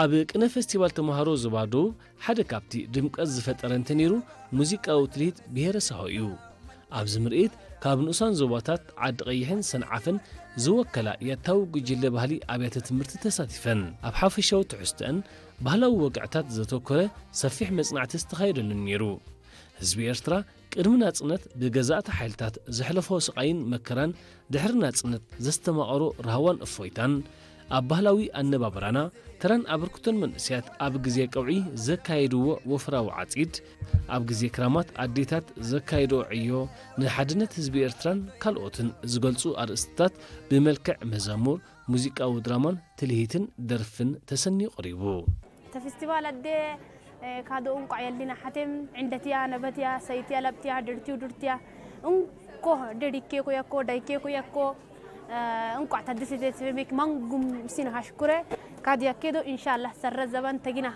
ኣብ ቅነ ፌስቲቫል ተምሃሮ ዞባ ደቡብ ሓደ ካብቲ ድምቀት ዝፈጠረ እንተነይሩ፣ ሙዚቃዊ ትልሂት ብሄረ ሳሆ እዩ። ኣብዚ ምርኢት ካብ ንኡሳን ዞባታት ዓዲ ቀይሕን ሰንዓፈን ዝወከላ ያታዊ ጉጅለ ባህሊ ኣብያተ ትምህርቲ ተሳቲፈን። ኣብ ሓፈሻዊ ትሕዝቶአን ባህላዊ ወግዕታት ዘተኮረ ሰፊሕ መጽናዕቲ ዝተኻየደሉን ነይሩ። ህዝቢ ኤርትራ ቅድሚ ናጽነት ብገዛእቲ ሓይልታት ዘሕለፎ ስቓይን መከራን፣ ድሕሪ ናጽነት ዘስተማቐሮ ራህዋን እፎይታን፣ ኣብ ባህላዊ ኣነባብራና ተራን ኣበርክቶን መንእሰያት ኣብ ግዜ ቀውዒ ዘካየድዎ ወፍራዊ ዓጺድ፣ ኣብ ግዜ ክራማት ኣዴታት ዘካየድኦ ዕዮ፣ ንሓድነት ህዝቢ ኤርትራን ካልኦትን ዝገልጹ ኣርእስትታት ብመልክዕ መዛሙር፣ ሙዚቃዊ ድራማን ትልሂትን ደርፍን ተሰንዩ ቀሪቡ። ተፍስቲቫል ኣደ ካዶ እንቋዕ የልና ሓቴም ዕንደትያ ነበትያ ሰይትያ ለብትያ ድርትዩ ድርትያ እንኮ ደዲኬ ኩያኮ ዳይኬ ኩያኮ እንቋዕ ታደሰ ቤት ማንጉም ሲን ሃሽኩረ ካድያ ኬዶ ኢንሻላ ሰረ ዘበን ተጊና